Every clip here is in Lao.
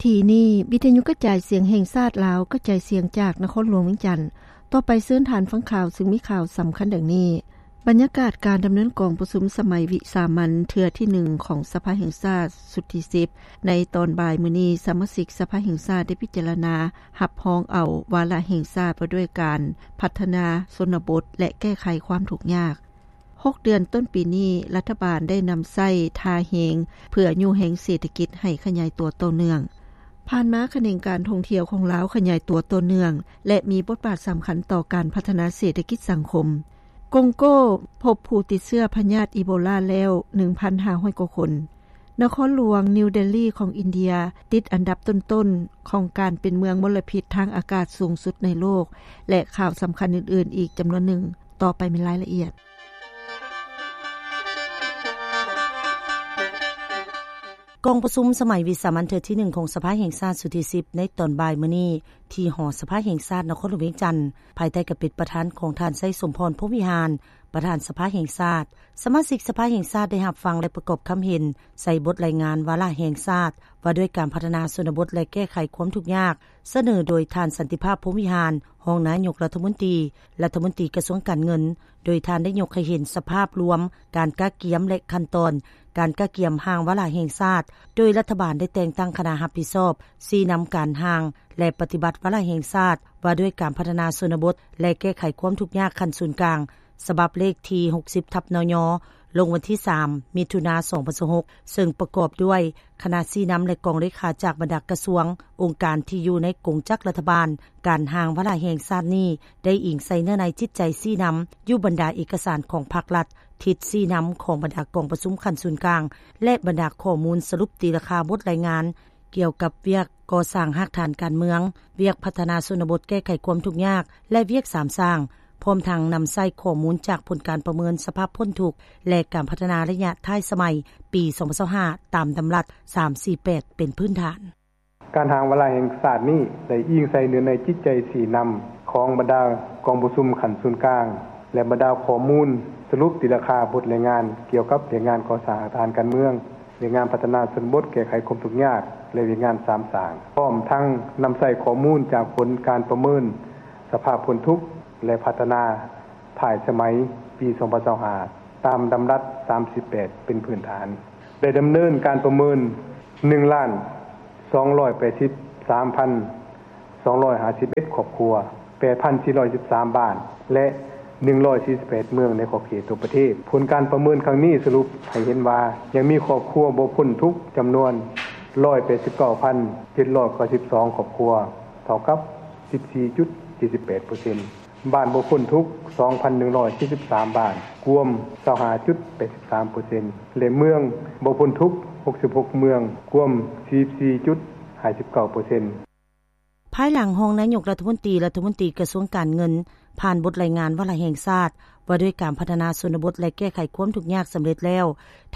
ທີ່ນີ້ ວິທະຍຸກະຈາຍສຽງແຫ່ງຊາດລາວ ກະຈາຍສຽງຈາກນະຄອນຫຼວງວຽງຈັນ. ຕໍ່ໄປເຊີນທ່ານຟັງຂ່າວ ຊຶ່ງມີຂ່າວສຳຄັນດັ່ງນີ້. ບັນຍາກາດການດຳເນີນກອງປະຊຸມສະໄໝວິສາມັນເທື່ອທີໜຶ່ງຂອງສະພາແຫ່ງຊາດຊຸດທີສິບ ໃນຕອນບ່າຍມື້ນີ້ ສະມາຊິກສະພາແຫ່ງຊາດໄດ້ພິຈາລະນາຮັບຮອງເອົາວາລະແຫ່ງຊາດວ່າດ້ວຍການພັດທະນາຊົນນະບົດ ແລະ ແກ້ໄຂຄວາມທຸກຍາກ. ຫົກເດືອນຕົ້ນປີນີ້ ລັດຖະບານໄດ້ນຳໃຊ້ທ່າແຮງເພື່ອຍູ້ແຮງເສດຖະກິດໃຫ້ຂະຫຍາຍຕົວຕໍ່ເນື່ອງ. ຜ່ານມາຂະແໜງການທ່ອງທ່ຽວຂອງລາວຂະຫຍາຍຕົວຕໍ່ເນື່ອງ ແລະ ມີບົດບາດສຳຄັນຕໍ່ການພັດທະນາເສດຖະກິດສັງຄົມ. ກອງໂກພົບຜູ້ຕິດເຊື້ອພະຍາດອີໂບລາແລ້ວ ໜຶ່ງພັນຫ້າຮ້ອຍກວ່າຄົນ. ນະຄອນຫຼວງນິວເດລີຂອງອິນເດຍ ຕິດອັນດັບຕົ້ນໆຂອງການເປັນເມືອງມົນລະພິດທາງອາກາດສູງສຸດໃນໂລກ ແລະ ຂ່າວສຳຄັນອື່ນໆອີກຈຳນວນໜຶ່ງ. ຕໍ່ໄປແມ່ນລາຍລະອຽດ. ກອງປະຊຸມສະໄໝວິສາມັນເທື່ອທີໜຶ່ງຂອງສະພາແຫ່ງຊາດຊຸດທີສິບ ໃນຕອນບ່າຍມື້ນີ້ ທີ່ຫໍສະພາແຫ່ງຊາດນະຄອນຫຼວງວຽງຈັນ ພາຍໃຕ້ການເປັນປະທານຂອງທ່ານ ໄຊສົມພອນ ພົມວິຫານ ປະທານສະພາແຫ່ງຊາດ. ສະມາຊິກສະພາແຫ່ງຊາດໄດ້ຮັບຟັງ ແລະ ປະກອບຄຳເຫັນໃສ່ບົດລາຍງານວາລະແຫ່ງຊາດ ວ່າດ້ວຍການພັດທະນາຊົນນະບົດ ແລະ ແກ້ໄຂຄວາມທຸກຍາກ ສະເໜີໂດຍທ່ານ ສັນຕິພາບ ພົມວິຫານ ຮອງນາຍົກລັດຖະມົນຕີ, ລັດຖະມົນຕີກະຊວງການເງິນ, ໂດຍທ່ານໄດ້ຍົກໃຫ້ເຫັນສະພາບລວມການກະກຽມ ແລະ ຂັ້ນຕອນການກະກຽມຮ່າງວາລະແຫ່ງຊາດ, ໂດຍລັດຖະບານໄດ້ແຕ່ງຕັ້ງຄະນະຮັບຜິດຊອບຊີ້ນຳການຮ່າງ ແລະ ປະຕິບັດວາລະແຫ່ງຊາດ ວ່າດ້ວຍການພັດທະນາຊົນນະບົດ ແລະ ແກ້ໄຂຄວາມທຸກຍາກຂັ້ນສູນກາງ ສະບັບເລກທີຫົກສິບ ທັບ ນຍ ລົງວັນທີສາມ ມິຖຸນາ ສອງພັນຊາວຫົກ ເຊິ່ງປະກອບດ້ວຍຄະນະຊີ້ນຳ ແລະ ກອງເລຂາຈາກບັນດາກະຊວງ, ອົງການທີ່ຢູ່ໃນກົງຈັກລັດຖະບານ. ການຮ່າງວາລະແຫ່ງຊາດນີ້ໄດ້ອີງໃສ່ເນື້ອໃນຈິດໃຈຊີ້ນຳຢູ່ບັນດາເອກະສານຂອງພາກລັດ, ທິດຊີ້ນຳຂອງບັນດາກອງປະຊຸມຂັ້ນສູນກາງ ແລະ ບັນດາຂໍ້ມູນສະຫຼຸບຕີລາຄາບົດລາຍງານ ກ່ຽວກັບວຽກກໍ່ສ້າງຮາກຖານການເມືອງ, ວຽກພັດທະນາຊົນນະບົດແກ້ໄຂຄວາມທຸກຍາກ ແລະ ວຽກສາມສ້າງ, ພ້ອມທັງນຳໃຊ້ຂໍ້ມູນຈາກຜົນການປະເມີນສະພາບພົ້ນທຸກ ແລະ ການພັດທະນາໄລຍະທ້າຍສະໄໝປີສອງພັນຊາວຫ້າ ຕາມດຳລັດສາມສີ່ແປດເປັນພື້ນຖານ. ການຮ່າງວາລະແຫ່ງຊາດນີ້ໄດ້ອີງໃສ່ເນື້ອໃນຈິດໃຈຊີ້ນຳຂອງບັນດາກອງປະຊຸມຂັ້ນສູນກາງ ແລະ ບັນດາຂໍ້ມູນສະຫຼຸບຕີລາຄາບົດລາຍງານກ່ຽວກັບວຽກງານກໍ່ສ້າງຮາກຖານການເມືອງ, ວຽກງານພັດທະນາຊົນນະບົດແກ້ໄຂຄວາມທຸກຍາກ ແລະ ວຽກງານສາມສ້າງ, ພ້ອມທັງນຳໃຊ້ຂໍ້ມູນຈາກຜົນການປະເມີນສະພາບພົ້ນທຸກ ແລະ ພັດທະນາທ້າຍສະໄໝປີສອງພັນຊາວຫ້າ ຕາມດຳລັດສາມສິບແປດເປັນພື້ນຖານ. ໄດ້ດຳເນີນການປະເມີນ ໜຶ່ງລ້ານສອງຮ້ອຍແປດສິບສາມພັນສອງຮ້ອຍຫ້າສິບເອັດຄອບຄົວ, ແປດພັນສີ່ຮ້ອຍສິບສາມບ້ານ ແລະ ໜຶ່ງຮ້ອຍສີ່ສິບແປດເມືອງໃນຂອບເຂດທົ່ວປະເທດ. ຜົນການປະເມີນຄັ້ງນີ້ສະຫຼຸບໃຫ້ເຫັນວ່າ ຍັງມີຄອບຄົວບໍ່ພົ້ນທຸກຈຳນວນຮ້ອຍແປດສິບເກົ້າພັນເຈັດຮ້ອຍເກົ້າສິບສອງຄອບຄົວ, ເທົ່າກັບສິບສີ່ຈຸດເຈັດສິບແປດເປີເຊັນ. ບ້ານບໍ່ພົ້ນທຸກ ສອງພັນໜຶ່ງຮ້ອຍເຈັດສິບສາມບ້ານ, ກວມຊາວຫ້າຈຸດແປດສິບສາເປີເຊັນ ແລະ ເມືອງບໍ່ພົ້ນທຸກ ຫົກສິບຫົກເມືອງ, ກວມສີ່ສິບສີ່ຈຸດຫ້າສິບເກົ້າເປີເຊັນ. ພາຍຫຼັງຮອງນາຍົກລັດຖະມົນຕີ, ລັດຖະມົນຕີກະຊວງການເງິນ ຜ່ານບົດລາຍງານວາລະແຫ່ງຊາດ ວ່າດ້ວຍການພັດທະນາຊົນນະບົດ ແລະ ແກ້ໄຂຄວາມທຸກຍາກສຳເລັດແລ້ວ,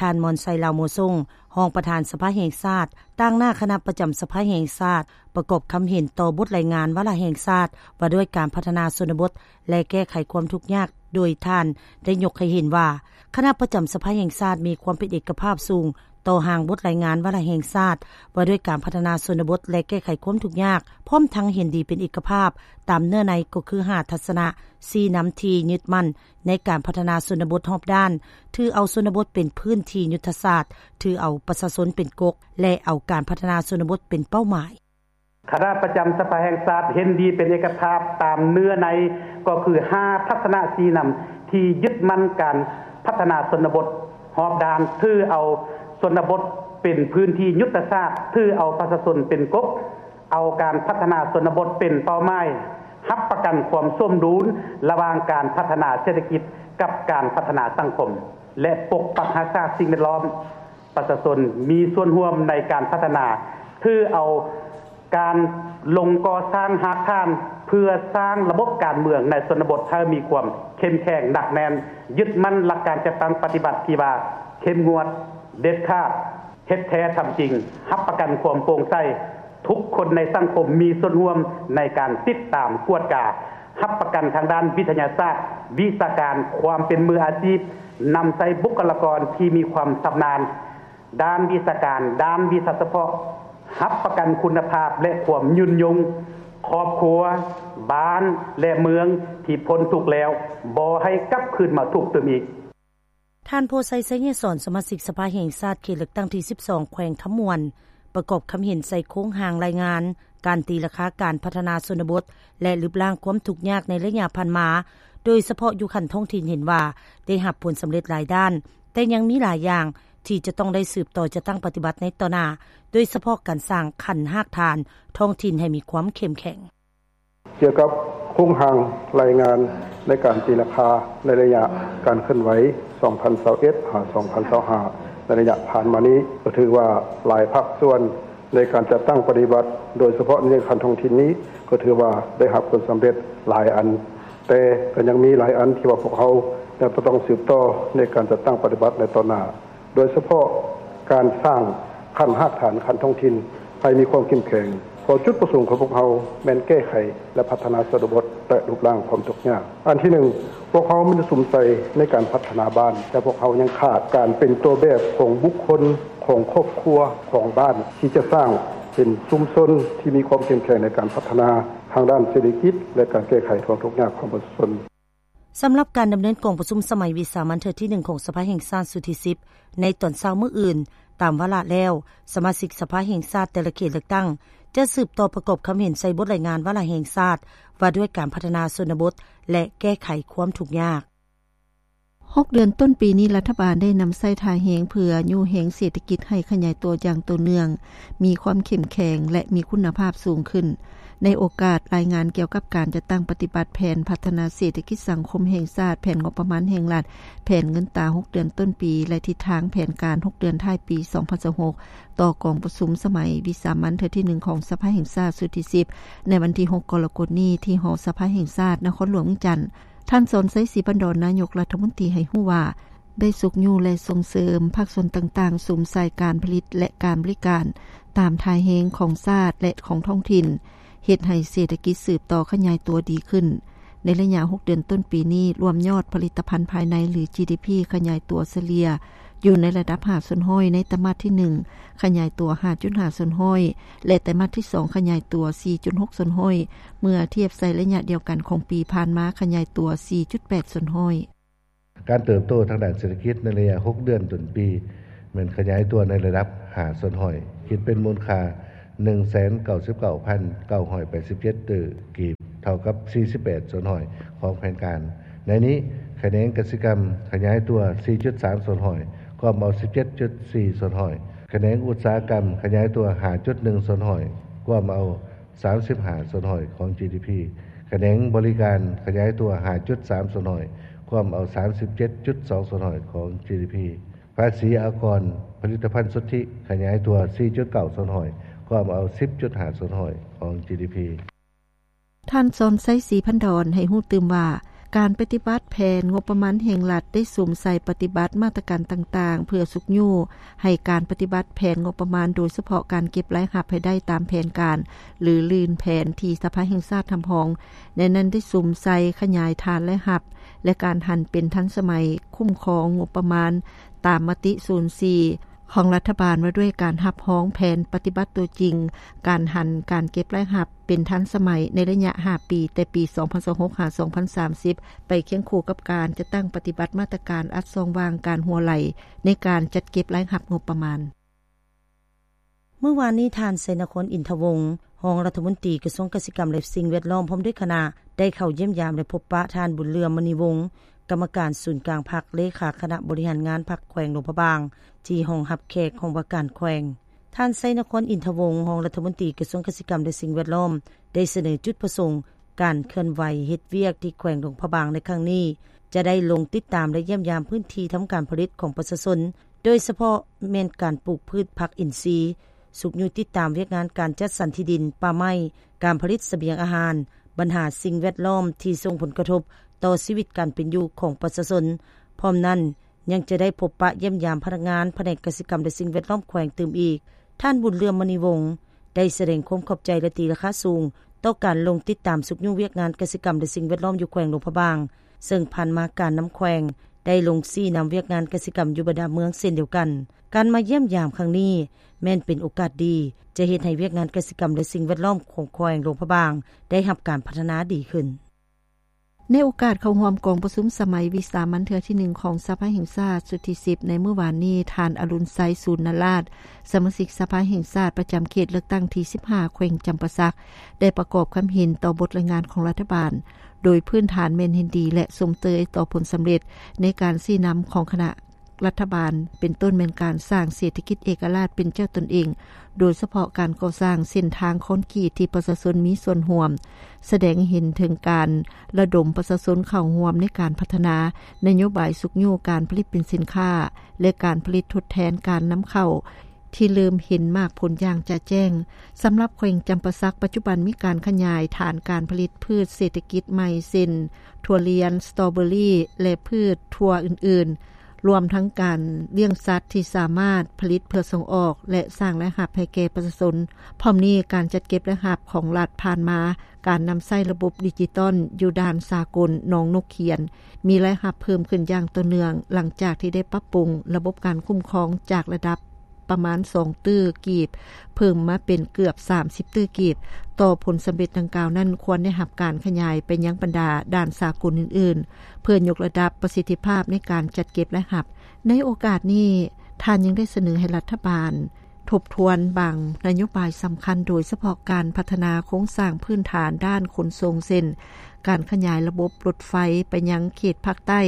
ທ່ານ ມອນໄຊ ລາວໂມຊົງ ຮອງປະທານສະພາແຫ່ງຊາດ, ຕາງໜ້າຄະນະປະຈຳສະພາແຫ່ງຊາດ ປະກອບຄຳເຫັນຕໍ່ບົດລາຍງານວາລະແຫ່ງຊາດ ວ່າດ້ວຍການພັດທະນາຊົນນະບົດ ແລະ ແກ້ໄຂຄວາມທຸກຍາກ, ໂດຍທ່ານໄດ້ຍົກໃຫ້ເຫັນວ່າ ຄະນະປະຈຳສະພາແຫ່ງຊາດມີຄວາມເປັນເອກະພາບສູງຕໍ່ຮ່າງບົດລາຍງານວາລະແຫ່ງຊາດ ວ່າດ້ວຍການພັດທະນາຊົນນະບົດ ແລະ ແກ້ໄຂຄວາມທຸກຍາກ, ພ້ອມທັງເຫັນດີເປັນເອກະພາບຕາມເນື້ອໃນ ກໍຄືຫ້າທັດສະນະຊີ້ນຳທີ່ຍຶດໝັ້ນໃນການພັດທະນາຊົນນະບົດຮອບດ້ານ, ຖືເອົາຊົນນະບົດເປັນພື້ນທີ່ຍຸດທະສາດ, ຖືເອົາປະຊາຊົນເປັນກົກ ແລະ ເອົາການພັດທະນາຊົນນະບົດເປັນເປົ້າໝາຍ. ຄະນະປະຈຳສະພາແຫ່ງຊາດເຫັນດີເປັນເອກະພາບຕາມເນື້ອໃນ ກໍຄືຫ້າທັດສະນະຊີ້ນຳທີ່ຍຶດໝັ້ນການພັດທະນາຊົນນະບົດຮອບດ້ານ, ຖືເອົາຊົນນະບົດເປັນພື້ນທີ່ຍຸດທະສາດ, ຖືເອົາປະຊາຊົນເປັນກົກ, ເອົາການພັດທະນາຊົນນະບົດເປັນເປົ້າໝາຍ, ຮັບປະກັນຄວາມສົມດຸນລະຫວ່າງການພັດທະນາເສດຖະກິດກັບການພັດທະນາສັງຄົມ ແລະ ປົກປັກຮັກສາສິ່ງແວດລ້ອມ. ປະຊາຊົນມີສ່ວນຮ່ວມໃນການພັດທະນາ, ຖືເອົາການລົງກໍ່ສ້າງຮາກຖານເພື່ອສ້າງລະບົບການເມືອງໃນຊົນນະບົດໃຫ້ມີຄວາມເຂັ້ມແຂງໜັກແໜ້ນ, ຍຶດໝັ້ນຫຼັກການຈັດຕັ້ງປະຕິບັດທີ່ວ່າເຂັ້ມງວດ, ເດັດຂາດ, ເຮັດແທ້ທຳຈິງ, ຮັບປະກັນຄວາມໂປ່ງໃສ, ທຸກຄົນໃນສັງຄົມມີສ່ວນຮ່ວມໃນການຕິດຕາມກວດກາ, ຮັບປະກັນທາງດ້ານວິທະຍາສາດ, ວິຊາການ, ຄວາມເປັນມືອາຊີບ, ນຳໃຊ້ບຸກຄະລາກອນທີ່ມີຄວາມຊຳນານ ດ້ານວິຊາການ, ດ້ານວິຊາສະເພາະ, ຮັບປະກັນຄຸນນະພາບ ແລະ ຄວາມຍືນຍົງ ຄອບຄົວ, ບ້ານ ແລະ ເມືອງທີ່ພົ້ນທຸກແລ້ວ ບໍ່ໃຫ້ກັບຄືນມາທຸກຕື່ມອີກ. ທ່ານ ໂພໄຊ ໄຊຍະສອນ ສະມາຊິກສະພາແຫ່ງຊາດ ເຂດເລືອກຕັ້ງທີສິບສອງ ແຂວງຄຳມ່ວນ ປະກອບຄຳເຫັນໃສ່ໂຄງຮ່າງລາຍງານ ການຕີລາຄາການພັດທະນາຊົນນະບົດ ແລະ ລຶບລ້າງຄວາມທຸກຍາກໃນໄລຍະຜ່ານມາ, ໂດຍສະເພາະຢູ່ຂັ້ນທ້ອງຖິ່ນເຫັນວ່າໄດ້ຮັບຜົນສຳເລັດຫຼາຍດ້ານ, ແຕ່ຍັງມີຫຼາຍຢ່າງທີ່ຈະຕ້ອງໄດ້ສືບຕໍ່ຈັດຕັ້ງປະຕິບັດໃນຕໍ່ໜ້າ, ໂດຍສະເພາະການສ້າງຂັ້ນຮາກຖານທ້ອງຖິ່ນໃຫ້ມີຄວາມເຂັ້ມແຂງ. ກ່ຽວກັບໂຄງຮ່າງລາຍງານໃນການຕີລາຄາໃນໄລຍະການເຄື່ອນໄຫວ ສອງພັນຊາວເອັດ ຫາ ສອງພັນຊາວຫ້າ ໃນໄລຍະຜ່ານມານີ້ ກໍຖືວ່າຫຼາຍພາກສ່ວນໃນການຈັດຕັ້ງປະຕິບັດ, ໂດຍສະເພາະໃນຂັ້ນທ້ອງຖິ່ນນີ້ ກໍຖືວ່າໄດ້ຮັບຜົນສຳເລັດຫຼາຍອັນ, ແຕ່ກໍຍັງມີຫຼາຍອັນທີ່ວ່າພວກເຮົາຍັງຕ້ອງສືບຕໍ່ໃນການຈັດຕັ້ງປະຕິບັດໃນຕໍ່ໜ້າ. ໂດຍສະເພາະການສ້າງຂັ້ນຮາກຖານຂັ້ນທ້ອງຖິ່ນໃຫ້ມີຄວາມເຂັ້ມແຂງ, ເພາະຈຸດປະສົງຂອງພວກເຮົາແມ່ນແກ້ໄຂ ແລະ ພັດທະນາຊົນນະບົດ ແລະ ລຶບລ້າງຄວາມທຸກຍາກ. ອັນທີໜຶ່ງ, ພວກເຮົາມີແຕ່ສຸມໃສ່ໃນການພັດທະນາບ້ານ, ແຕ່ພວກເຮົາຍັງຂາດການເປັນຕົວແບບຂອງບຸກຄົນ, ຂອງຄອບຄົວ, ຂອງບ້ານ ທີ່ຈະສ້າງເປັນຊຸມຊົນທີ່ມີຄວາມເຂັ້ມແຂງໃນການພັດທະນາທາງດ້ານເສດຖະກິດ ແລະ ການແກ້ໄຂຄວາມທຸກຍາກຂອງປະຊາຊົນ. ສຳລັບການດຳເນີນກອງປະຊຸມສະໄໝວິສາມັນເທື່ອທີໜຶ່ງຂອງສະພາແຫ່ງຊາດຊຸດທີສິບ ໃນຕອນເຊົ້າມື້ອື່ນ, ຕາມວາລະແລ້ວ, ສະມາຊິກສະພາແຫ່ງຊາດແຕ່ລະເຂດເລືອກຕັ້ງ ຈະສືບຕໍ່ປະກອບຄຳເຫັນໃສ່ບົດລາຍງານວາລະແຫ່ງຊາດ ວ່າດ້ວຍການພັດທະນາຊົນນະບົດ ແລະ ແກ້ໄຂຄວາມທຸກຍາກ. ຫົກເດືອນຕົ້ນປີນີ້ ລັດຖະບານໄດ້ນຳໃຊ້ທ່າແຮງເພື່ອຍູ້ແຮງເສດຖະກິດໃຫ້ຂະຫຍາຍຕົວຢ່າງຕໍ່ເນື່ອງ, ມີຄວາມເຂັ້ມແຂງ ແລະ ມີຄຸນນະພາບສູງຂຶ້ນ. ໃນໂອກາດລາຍງານກ່ຽວກັບການຈັດຕັ້ງປະຕິບັດແຜນພັດທະນາເສດຖະກິດສັງຄົມແຫ່ງຊາດ, ແຜນງົບປະມານແຫ່ງລັດ, ແຜນເງິນຕາຫົກເດືອນຕົ້ນປີ ແລະ ທິດທາງແຜນການຫົກເດືອນທ້າຍປີສອງພັນຊາວຫົກ ຕໍ່ກອງປະຊຸມສະໄໝວິສາມັນເທື່ອທີໜຶ່ງຂອງສະພາແຫ່ງຊາດຊຸດທີສິບ ໃນວັນທີຫົກກໍລະກົດນີ້ ທີ່ຫໍສະພາແຫ່ງຊາດ ນະຄອນຫຼວງວຽງຈັນ, ທ່ານ ສອນໄຊ ສີພັນດອນ ນາຍົກລັດຖະມົນຕີ ໃຫ້ຮູ້ວ່າ ໄດ້ຊຸກຍູ້ ແລະ ສົ່ງເສີມພາກສ່ວນຕ່າງໆ ສຸມໃສ່ການຜະລິດ ແລະ ການບໍລິການ ຕາມທ່າແຮງຂອງຊາດ ແລະ ຂອງທ້ອງຖິ່ນ, ເຮັດໃຫ້ເສດຖະກິດສືບຕໍ່ຂະຫຍາຍຕົວດີຂຶ້ນ. ໃນໄລຍະຫົກເດືອນຕົ້ນປີນີ້, ລວມຍອດຜະລິດຕະພັນພາຍໃນ ຫຼື ຈີດີພີ ຂະຫຍາຍຕົວສະເລ່ຍຢູ່ໃນລະດັບຫ້າສ່ວນຮ້ອຍໃນໄຕມາດທີໜຶ່ງ, ຂະຫຍາຍຕົວຫ້າຈຸດຫ້າສ່ວນຮ້ອຍ ແລະ ໄຕມາດທີສອງ ຂະຫຍາຍຕົວສີ່ຈຸດຫົກສ່ວນຮ້ອຍ ເມື່ອທຽບໃສ່ໄລຍະດຽວກັນຂອງປີຜ່ານມາ ຂະຫຍາຍຕົວສີ່ຈຸດແປດສ່ວນຮ້ອຍ. ການເຕີບໂຕທາງດ້ານເສດຖະກິດໃນໄລຍະຫົກເດືອນຕົ້ນປີ ແມ່ນຂະຫຍາຍຕົວໃນລະດັບຫ້າສ່ວນຮ້ອຍ, ຄິດເປັນມູນຄ່າໜຶ່ງແສນເກົ້າສິບເກົ້າພັນເກົ້າຮ້ອຍແປດສິບເຈັດຕື້ກີບ, ເທົ່າກັບສີ່ສິບແປດສ່ວນຮ້ອຍຂອງແຜນການ. ໃນນີ້, ຂະແໜງກະສິກຳຂະຫຍາຍຕົວສີ່ຈຸດສາມສ່ວນຮ້ອຍ, ກວມເອົາສິບເຈັດຈຸດສີ່ສ່ວນຮ້ອຍ, ຂະແໜງອຸດສາຫະກຳຂະຫຍາຍຕົວຫ້າຈຸດໜຶ່ງສ່ວນຮ້ອຍ, ກວມເອົາ ສາມສິບຫ້າສ່ວນຮ້ອຍຂອງຈີດີພີ, ຂະແໜງບໍລິການຂະຫຍາຍຕົວຫ້າຈຸດສາມສ່ວນຮ້ອຍ, ກວມເອົາສາມສິບເຈັດຈຸດສອງສ່ວນຮ້ອຍຂອງຈີດີພີ, ພາສີອາກອນຜະລິດຕະພັນສຸດທິຂະຫຍາຍຕົວສີ່ຈຸດເກົ້າສ່ວນຮ້ອຍ, ກວມເອົາສິບຈຸດຫ້າສ່ວນຮ້ອຍຂອງຈີດີພີ. ທ່ານ ສອນໄຊ ສີພັນດອນ ໃຫ້ຮູ້ຕື່ມວ່າ ການປະຕິບັດແຜນງົບປະມານແຫ່ງລັດ ໄດ້ສຸມໃສ່ປະຕິບັດມາດຕະການຕ່າງໆ ເພື່ອຊຸກຍູ້ໃຫ້ການປະຕິບັດແຜນງົບປະມານ, ໂດຍສະເພາະການເກັບລາຍຮັບໃຫ້ໄດ້ຕາມແຜນການ ຫຼື ລື່ນແຜນທີ່ສະພາແຫ່ງຊາດຮັບຮອງ. ໃນນັ້ນໄດ້ສຸມໃສ່ຂະຫຍາຍຖານລາຍຮັບ ແລະ ການຫັນເປັນທັນສະໄໝ, ຄຸ້ມຄອງງົບປະມານຕາມມະຕິສູນສີ່ ຂອງລັດຖະບານວ່າດ້ວຍການຮັບຮອງແຜນປະຕິບັດຕົວຈິງ, ການຫັນການເກັບລາຍຮັບເປັນທັນສະໄໝໃນໄລຍະຫ້າປີ, ແຕ່ປີສອງພັນຊາວຫົກ ຫາ ສອງພັນສາມສິບ ໄປຄຽງຄູ່ກັບການຈັດຕັ້ງປະຕິບັດມາດຕະການອັດຊ່ອງວ່າງການຮົ່ວໄຫຼໃນການຈັດເກັບລາຍຮັບງົບປະມານ. ມື້ວານນີ້, ທ່ານ ໄຊນະຄອນ ອິນທະວົງ ຮອງລັດຖະມົນຕີກະຊວງກະສິກຳ ແລະ ສິ່ງແວດລ້ອມ ພ້ອມດ້ວຍຄະນະ ໄດ້ເຂົ້າຢ້ຽມຢາມ ແລະ ພົບປະທ່ານ ບຸນເຫຼືອມ ມະນີວົງ ກຳມະການສູນກາງພັກ, ເລຂາຄະນະບໍລິຫານງານພັກແຂວງຫຼວງພະບາງ ທີ່ຫ້ອງຮັບແຂກຫ້ອງວ່າການແຂວງ. ທ່ານ ໄຊນະຄອນ ອິນທະວົງ ຮອງລັດຖະມົນຕີກະຊວງກະສິກຳ ແລະ ສິ່ງແວດລ້ອມ ໄດ້ສະເໜີຈຸດປະສົງ ການເຄື່ອນໄຫວເຮັດວຽກທີ່ແຂວງຫຼວງພະບາງໃນຄັ້ງນີ້ ຈະໄດ້ລົງຕິດຕາມ ແລະ ຢ້ຽມຢາມພື້ນທີ່ທຳການຜະລິດຂອງປະຊາຊົນ, ໂດຍສະເພາະແມ່ນການປູກພືດຜັກອິນຊີ, ຊຸກຍູ້ຕິດຕາມວຽກງານການຈັດສັນທີ່ດິນ, ປ່າໄມ້, ການຜະລິດສະບຽງອາຫານ, ບັນຫາສິ່ງແວດລ້ອມທີ່ສົ່ງຜົນກະທົບຕໍ່ຊີວິດການເປັນຢູ່ຂອງປະຊາຊົນ. ພ້ອມນັ້ນ, ຍັງຈະໄດ້ພົບປະຢ້ຽມຢາມພະນັກງານພະແນກກະສິກຳ ແລະ ສິ່ງແວດລ້ອມແຂວງຕື່ມອີກ. ທ່ານ ບຸນເຫຼືອມ ມະນີວົງ ໄດ້ສະແດງຄວາມຂອບໃຈ ແລະ ຕີລາຄາສູງຕໍ່ການລົງຕິດຕາມຊຸກຍູ້ວຽກງານກະສິກຳ ແລະ ສິ່ງແວດລ້ອມຢູ່ແຂວງຫຼວງພະບາງ, ເຊິ່ງຜ່ານມາການນຳແຂວງໄດ້ລົງຊີ້ນຳວຽກງານກະສິກຳຢູ່ບັນດາເມືອງເຊັ່ນດຽວກັນ. ການມາຢ້ຽມຢາມຄັ້ງນີ້ ແມ່ນເປັນໂອກາດດີ ຈະເຮັດໃຫ້ວຽກງານກະສິກຳ ແລະ ສິ່ງແວດລ້ອມຂອງແຂວງຫຼວງພະບາງ ໄດ້ຮັບການພັດທະນາດີຂຶ້ນ. ໃນໂອກາດເຂົ້າຮ່ວມກອງປະຊຸມສະໄໝວິສາມັນເທື່ອທີໜຶ່ງຂອງສະພາແຫ່ງຊາດຊຸດທີສິບ ໃນມື້ວານນີ້, ທ່ານ ອະລຸນໄຊ ສູນນະລາດ ສະມາຊິກສະພາແຫ່ງຊາດປະຈຳເຂດເລືອກຕັ້ງທີສິບຫ້າ ແຂວງຈຳປາສັກ ໄດ້ປະກອບຄຳເຫັນຕໍ່ບົດລາຍງານຂອງລັດຖະບານ, ໂດຍພື້ນຖານແມ່ນເຫັນດີ ແລະ ຊົມເຊີຍຕໍ່ຜົນສຳເລັດໃນການຊີ້ນຳຂອງຄະນະ ລັດຖະບານ ເປັນຕົ້ນແມ່ນການສ້າງເສດຖະກິດເອກະລາດເປັນເຈົ້າຕົນເອງ, ໂດຍສະເພາະການກໍ່ສ້າງເສັ້ນທາງຄອນກຣີດທີ່ປະຊາຊົນມີສ່ວນຮ່ວມ, ສະແດງໃຫ້ເຫັນເຖິງການລະດົມປະຊາຊົນເຂົ້າຮ່ວມໃນການພັດທະນາ, ນະໂຍບາຍຊຸກຍູ້ການຜະລິດເປັນສິນຄ້າ ແລະ ການຜະລິດທົດແທນການນຳເຂົ້າ ທີ່ເລີ່ມເຫັນໝາກຜົນຢ່າງຈະແຈ້ງ. ສຳລັບແຂວງຈຳປາສັກ ປັດຈຸບັນມີການຂະຫຍາຍຖານການຜະລິດພືດເສດຖະກິດໃໝ່ ເຊັ່ນ ຖົ່ວລຽນ, ສະຕໍເບີຣີ ແລະ ພືດຖົ່ວອື່ນໆ, ລວມທັງການລ້ຽງສັດທີ່ສາມາດຜະລິດເພື່ອສົ່ງອອກ ແລະ ສ້າງລາຍຮັບໃຫ້ແກ່ປະຊາຊົນ. ພ້ອມນີ້, ການຈັດເກັບລາຍຮັບຂອງລັດຜ່ານມາ, ການນຳໃຊ້ລະບົບດິຈິຕອນຢູ່ດ່ານສາກົນໜອງນົກຂຽນ ມີລາຍຮັບເພີ່ມຂຶ້ນຢ່າງຕໍ່ເນື່ອງ, ຫຼັງຈາກທີ່ໄດ້ປັບປຸງລະບົບການຄຸ້ມຄອງຈາກລະດັບ ປະມານສອງຕື້ກີບ ເພີ່ມມາເປັນເກືອບສາມສິບຕື້ກີບ. ຕໍ່ຜົນສຳເລັດດັ່ງກ່າວນັ້ນ ຄວນໄດ້ຮັບການຂະຫຍາຍໄປຍັງບັນດາດ່ານສາກົນອື່ນໆ ເພື່ອຍົກລະດັບປະສິດທິພາບໃນການຈັດເກັບລາຍຮັບ. ໃນໂອກາດນີ້, ທ່ານຍັງໄດ້ສະເໜີໃຫ້ລັດຖະບານທົບທວນບາງນະໂຍບາຍສຳຄັນ, ໂດຍສະເພາະການພັດທະນາໂຄງສ້າງພື້ນຖານດ້ານຂົນສົ່ງ ເຊັ່ນ ການຂະຫຍາຍລະບົບລົດໄຟໄປຍັງເຂດພາກໃຕ້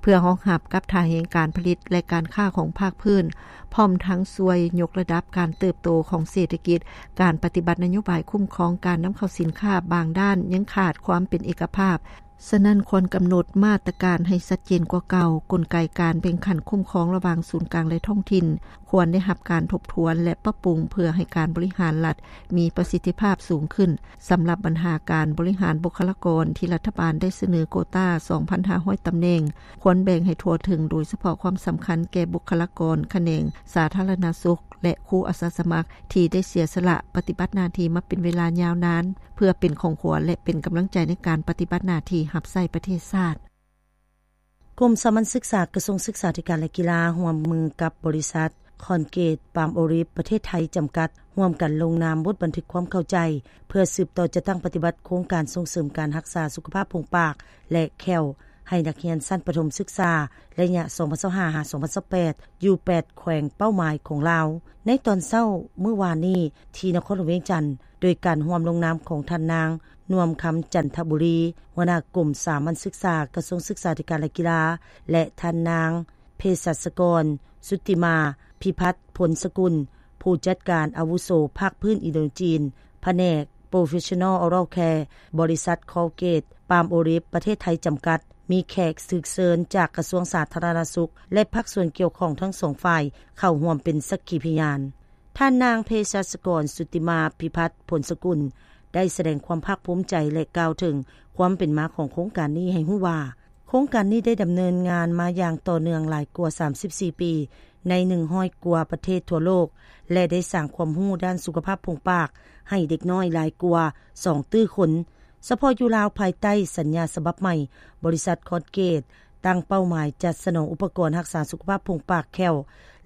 ເພື່ອຮອງຮັບກັບທ່າແຮງການຜະລິດ ແລະ ການຄ້າຂອງພາກພື້ນ, ພ້ອມທັງຊ່ວຍຍົກລະດັບການເຕີບໂຕຂອງເສດຖະກິດ, ການປະຕິບັດນະໂຍບາຍຄຸ້ມຄອງການນຳເຂົ້າສິນຄ້າບາງດ້ານຍັງຂາດຄວາມເປັນເອກະພາບ. ສະນັ້ນ, ຄວນກຳນົດມາດຕະການໃຫ້ຊັດເຈນກວ່າເກົ່າ, ກົນໄກການແບ່ງຂັ້ນຄຸ້ມຄອງລະຫວ່າງສູນກາງ ແລະ ທ້ອງຖິ່ນ ຄວນໄດ້ຮັບການທົບທວນ ແລະ ປັບປຸງ ເພື່ອໃຫ້ການບໍລິຫານລັດ ມີປະສິດທິພາບສູງຂຶ້ນ. ສຳລັບບັນຫາການບໍລິຫານບຸກຄະລາກອນ ທີ່ລັດຖະບານໄດ້ສະເໜີໂກຕາສອງພັນຫ້າຮ້ອຍຕຳແໜ່ງ ຄວນແບ່ງໃຫ້ທົ່ວເຖິງ, ໂດຍສະເພາະຄວາມສຳຄັນແກ່ບຸກຄະລາກອນຂະແໜງສາທາລະນະສຸກ ແລະ ຄູອາສາສະໝັກ ທີ່ໄດ້ເສຍສະຫຼະປະຕິບັດໜ້າທີ່ມາເປັນເວລາຍາວນານ ເພື່ອເປັນຂອງຂວັນ ແລະ ເປັນກຳລັງໃຈໃນການປະຕິບັດໜ້າທີ່ຮັບໃຊ້ປະເທດຊາດ. ກົມສາມັນສຶກສາ ກະຊວງສຶກສາທິການ ແລະ ກິລາ ຮ່ວມມືກັບບໍລິສັດ ຄອນເກດ ປາມໂອລິຟ ປະເທດໄທ ຈຳກັດ ຮ່ວມກັນລົງນາມບົດບັນທຶກຄວາມເຂົ້າໃຈ ເພື່ອສືບຕໍ່ຈັດຕັ້ງປະຕິບັດໂຄງການສົ່ງເສີມການຮັກສາສຸຂະພາບໂພງປາກ ແລະ ແຂ້ວ ໃຫ້ນັກຮຽນຊັ້ນປະຖົມສຶກສາ ໄລຍະ ສອງພັນຊາວຫ້າ ຫາ ສອງພັນຊາວແປດ ຢູ່ແປດແຂວງເປົ້າໝາຍຂອງລາວ. ໃນຕອນເຊົ້າມື້ວານນີ້ ທີ່ນະຄອນຫຼວງວຽງຈັນ, ໂດຍການຮ່ວມລົງນາມຂອງທ່ານນາງ ນວມຄຳ ຈັນທະບູລີ ຫົວໜ້າກົມສາມັນສຶກສາ ກະຊວງສຶກສາທິການ ແລະ ກິລາ ແລະ ທ່ານນາງ ເພສັດສະກອນ ສຸດຕິມາ ພິພັດ ພົນສະກຸນ ຜູ້ຈັດການອາວຸໂສພາກພື້ນອິນໂດຈີນ ພະແນກ Professional Oral Care ບໍລິສັດ Colgate Palmolive ປະເທດໄທ ຈຳກັດ ມີແຂກຖືກເຊີນຈາກກະຊວງສາທາລະນະສຸກ ແລະ ພາກສ່ວນກ່ຽວຂ້ອງທັງສອງຝ່າຍ ເຂົ້າຮ່ວມເປັນສັກຂີພະຍານ. ທ່ານນາງເພສັດສະກອນ ສຸດຕິມາ ພິພັດ ພົນສະກຸນ ໄດ້ສະແດງຄວາມພາກພູມໃຈ ແລະ ກ່າວເຖິງຄວາມເປັນມາຂອງໂຄງການນີ້ໃຫ້ຮູ້ວ່າ, ໂຄງການນີ້ໄດ້ດຳເນີນງານມາຢ່າງຕໍ່ເນື່ອງຫຼາຍກວ່າສາມສິບສີ່ປີ ໃນໜຶ່ງຮ້ອຍກວ່າປະເທດທົ່ວໂລກ ແລະ ໄດ້ສ້າງຄວາມຮູ້ດ້ານສຸຂະພາບໂພງປາກໃຫ້ເດັກນ້ອຍຫຼາຍກວ່າສອງຕື້ຄົນ. ສະເພາະຢູ່ລາວ, ພາຍໃຕ້ສັນຍາສະບັບໃໝ່, ບໍລິສັດ Colgate ຕັ້ງເປົ້າໝາຍຈັດສະໜອງອຸປະກອນຮັກສາສຸຂະພາບໂພງປາກແຂ້ວ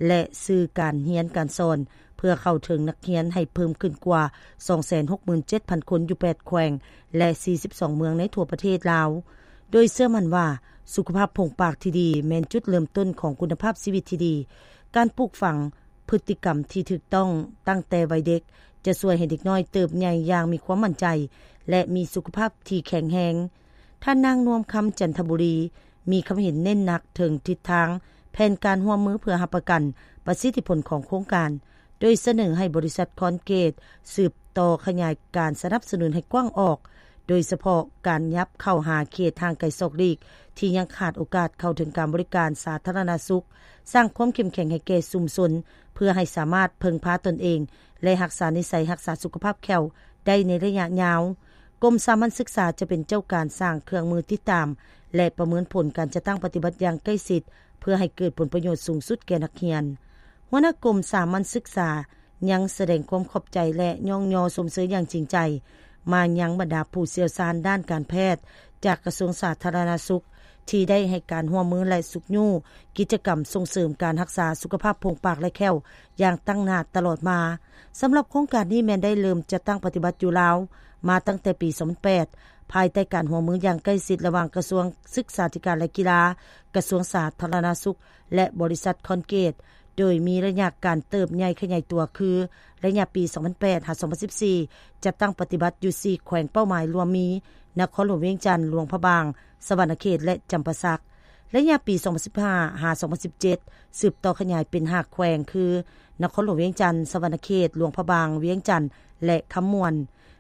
ແລະ ສື່ການຮຽນການສອນ ເພື່ອເຂົ້າເຖິງນັກຮຽນໃຫ້ເພີ່ມຂຶ້ນກວ່າສອງແສນຫົກໝື່ນເຈັດພັນຄົນ ຢູ່ແປດແຂວງ ແລະ ສີ່ສິບສອງເມືອງໃນທົ່ວປະເທດລາວ, ໂດຍເຊື່ອໝັ້ນວ່າ ສຸຂະພາບໂພງປາກທີ່ດີແມ່ນຈຸດເລີ່ມຕົ້ນຂອງຄຸນນະພາບຊີວິດທີ່ດີ. ການປູກຝັງ ພຶດຕິກຳທີ່ຖືກຕ້ອງຕັ້ງແຕ່ໄວເດັກ ຈະຊ່ວຍໃຫ້ເດັກນ້ອຍເຕີບໃຫຍ່ຢ່າງມີຄວາມໝັ້ນໃຈ ແລະ ມີສຸຂະພາບທີ່ແຂງແຮງ. ທ່ານນາງ ນວມຄຳ ຈັນທະບູລີ ມີຄຳເຫັນເນັ້ນໜັກເຖິງທິດທາງແຜນການຮ່ວມມືເພື່ອຮັບປະກັນປະສິດທິຜົນຂອງໂຄງການ, ໂດຍສະເໜີໃຫ້ບໍລິສັດ Colgate ສືບຕໍ່ຂະຫຍາຍການສະໜັບສະໜູນໃຫ້ກວ້າງອອກ, ໂດຍສະເພາະການຫຍັບເຂົ້າຫາເຂດຫ່າງໄກສອກຫຼີກ ທີ່ຍັງຂາດໂອກາດເຂົ້າເຖິງການບໍລິການສາທາລະນະສຸກ, ສ້າງຄວາມເຂັ້ມແຂງໃຫ້ແກ່ຊຸມຊົນ ເພື່ອໃຫ້ສາມາດເພິ່ງພາຕົນເອງ ແລະ ຮັກສານິໄສຮັກສາສຸຂະພາບແຂ້ວໄດ້ໃນໄລຍະຍາວ. ກົມສາມັນສຶກສາຈະເປັນເຈົ້າການສ້າງເຄື່ອງມືຕິດຕາມ ແລະ ປະເມີນຜົນການຈັດຕັ້ງປະຕິບັດຢ່າງໃກ້ຊິດ ເພື່ອໃຫ້ເກີດຜົນປະໂຫຍດສູງສຸດແກ່ນັກຮຽນ. ຫົວໜ້າກົມສາມັນສຶກສາຍັງສະແດງຄວາມຂອບໃຈ ແລະ ຍ້ອງຍໍຊົມເຊີຍຢ່າງຈິງໃຈມາຍັງບັນດາຜູ້ຊ່ຽວຊານດ້ານການແພດຈາກກະຊວງສາທາລະນະສຸກ ທີ່ໄດ້ໃຫ້ການຮ່ວມມື ແລະ ຊຸກຍູ້ກິດຈະກຳສົ່ງເສີມການຮັກສາສຸຂະພາບໂພງປາກ ແລະ ແຂ້ວ ຢ່າງຕັ້ງໜ້າຕະຫຼອດມາ. ສຳລັບໂຄງການນີ້ແມ່ນໄດ້ເລີ່ມຈັດຕັ້ງປະຕິບັດຢູ່ລາວມາຕັ້ງແຕ່ປີສອງພັນແປດ ພາຍໃຕ້ການຮ່ວມມືຢ່າງໃກ້ຊິດລະຫວ່າງກະຊວງສຶກສາທິການ ແລະ ກິລາ, ກະຊວງສາທາລະນະສຸກ ແລະ ບໍລິສັດຄອນເກດ ໂດຍມີໄລຍະການເຕີບໃຫຍ່ຂະຫຍາຍຕົວຄື ໄລຍະປີສອງພັນແປດຫາສອງພັນສິບສີ່ ຈັດຕັ້ງປະຕິບັດຢູ່ສີ່ແຂວງເປົ້າໝາຍ ລວມມີ ນະຄອນຫຼວງວຽງຈັນ, ຫຼວງພະບາງ, ສະຫວັນນະເຂດ ແລະ ຈຳປາສັກ. ໄລຍະປີສອງພັນສິບຫ້າຫາສອງພັນສິບເຈັດ ສືບຕໍ່ຂະຫຍາຍເປັນຫ້າແຂວງ ຄື ນະຄອນຫຼວງວຽງຈັນ, ສະຫວັນນະເຂດ, ຫຼວງພະບາງ, ວຽງຈັນ ແລະ ຄຳມ່ວນ.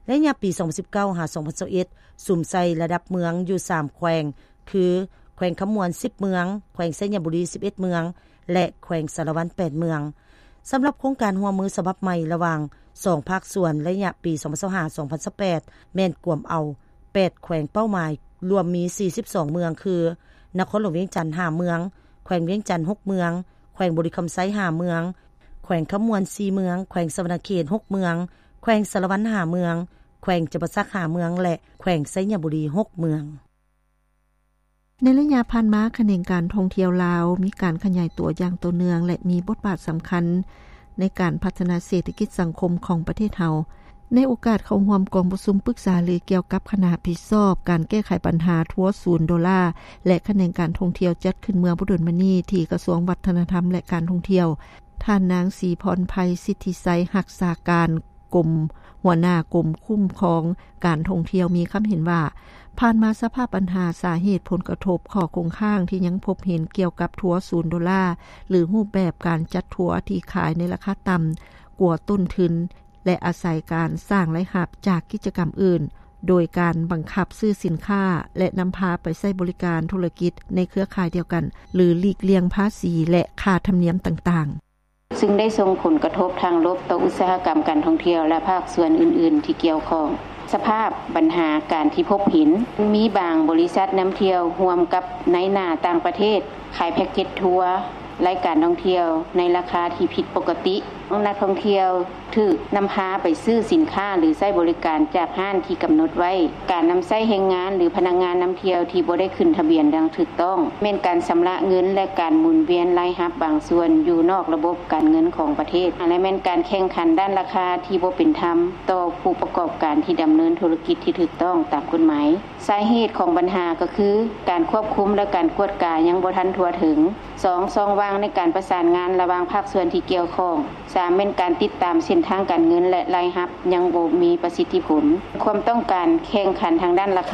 ໄລຍະປີສອງພັນສິບເກົ້າຫາສອງພັນຊາວເອັດ ສຸມໃສ່ລະດັບເມືອງຢູ່ສາມແຂວງ ຄື ແຂວງຄຳມ່ວນສິບເມືອງ, ແຂວງໄຊຍະບູລີສິບເອັດເມືອງ ແລະ ແຂວງສາລະວັນແປດເມືອງ. ສຳລັບໂຄງການຮ່ວມມືສະບັບໃໝ່ລະຫວ່າງສອງພາກສ່ວນ ໄລຍະປີສອງພັນຊາວຫ້າສອງພັນຊາວແປດ ແມ່ນກວມເອົາແປດແຂວງເປົ້າໝາຍ ລວມມີສີ່ສິບສອງເມືອງ ຄື ນະຄອນຫຼວງວຽງຈັນຫ້າເມືອງ, ແຂວງວຽງຈັນຫົກເມືອງ, ແຂວງບໍລິຄຳໄຊຫ້າເມືອງ, ແຂວງຄຳມ່ວນສີ່ເມືອງ, ແຂວງສະຫວັນນະເຂດຫົກເມືອງ, ແຂວງສາລະວັນຫ້າເມືອງ, ແຂວງຈຳປາສັກຫ້າເມືອງ ແລະ ແຂວງໄຊຍະບູລີຫົກເມືອງ. ໃນໄລຍະຜ່ານມາ, ຂະແໜງການທ່ອງທ່ຽວລາວມີການຂະຫຍາຍຕົວຢ່າງຕໍ່ເນື່ອງ ແລະ ມີບົດບາດສຳຄັນໃນການພັດທະນາເສດຖະກິດສັງຄົມຂອງປະເທດເຮົາ. ໃນໂອກາດເຂົ້າຮ່ວມກອງປະຊຸມປຶກສາຫາລືກ່ຽວກັບຄະນະຮັບຜິດຊອບການແກ້ໄຂບັນຫາທົວສູນໂດລາ ແລະ ຂະແໜງການທ່ອງທ່ຽວ ຈັດຂຶ້ນເມື່ອບໍ່ດົນມານີ້ທີ່ກະຊວງວັດທະນະທຳ ແລະ ການທ່ອງທ່ຽວ, ທ່ານນາງ ສີພອນໄພ ສິດທິໄຊ ຮັກສາການ ກົມ ຫົວໜ້າກົມຄຸ້ມຄອງການທ່ອງທ່ຽວ ມີຄຳເຫັນວ່າ ຜ່ານມາສະພາບບັນຫາ, ສາເຫດ, ຜົນກະທົບ, ຂໍ້ຄົງຄ້າງທີ່ຍັງພົບເຫັນກ່ຽວກັບທົວສູນໂດລາ ຫຼື ຮູບແບບການຈັດທົວທີ່ຂາຍໃນລາຄາຕ່ຳກວ່າຕົ້ນທຶນ ແລະ ອາໄສການສ້າງລາຍຮັບຈາກກິດຈະກຳອື່ນ ໂດຍການບັງຄັບຊື້ສິນຄ້າ ແລະ ນຳພາໄປໃຊ້ບໍລິການທຸລະກິດໃນເຄືອຂ່າຍດຽວກັນ ຫຼື ຫຼີກລ່ຽງພາສີ ແລະ ຄ່າທຳນຽມຕ່າງໆ. ຊຶ່ງໄດ້ສົ່ງຜົນກະທົບທາງລົບຕໍ່ອຸດສາຫະກຳການທ່ອງທ່ຽວ ແລະ ພາກສ່ວນອື່ນໆທີ່ກ່ຽວຂ້ອງ. ສະພາບບັນຫາການທີ່ພົບເຫັນ, ມີບາງບໍລິສັດນຳທ່ຽວຮ່ວມກັບນາຍໜ້າຕ່າງປະເທດ ຂາຍແພັກເກັດທົວ ລາຍການທ່ອງທ່ຽວໃນລາຄາທີ່ຜິດປົກກະຕິ. ນັກທ່ອງທ່ຽວຖືກນຳພາໄປຊື້ສິນຄ້າ ຫຼື ໃຊ້ບໍລິການຈາກຮ້ານທີ່ກຳນົດໄວ້. ການນຳໃຊ້ແຮງງານ ຫຼື ພະນັກງານນຳທ່ຽວທີ່ບໍ່ໄດ້ຂຶ້ນທະບຽນຢ່າງຖືກຕ້ອງ, ແມ່ນການຊຳລະເງິນ ແລະ ການໝູນວຽນລາຍຮັບບາງສ່ວນຢູ່ນອກລະບົບການເງິນຂອງປະເທດ ແລະ ແມ່ນການແຂ່ງຂັນດ້ານລາຄາທີ່ບໍ່ເປັນທຳຕໍ່ຜູ້ປະກອບການທີ່ດຳເນີນທຸລະກິດທີ່ຖືກຕ້ອງຕາມກົດໝາຍ. ສາເຫດຂອງບັນຫາກໍຄື ການຄວບຄຸມ ແລະ ການກວດກາຍັງບໍ່ທັນທົ່ວເຖິງ. ສອງ, ຊ່ອງວ່າງໃນການປະສານງານລະຫວ່າງພາກສ່ວນທີ່ກ່ຽວຂ້ອງ. ສາມ, ແມ່ນການຕິດຕາມເສັ້ນທາງການເງິນ ແລະ ລາຍຮັບຍັງບໍ່ມີປະສິດທິຜົນ. ຄວາມຕ້ອງການແຂ່ງຂັນທາງດ້ານລາຄາ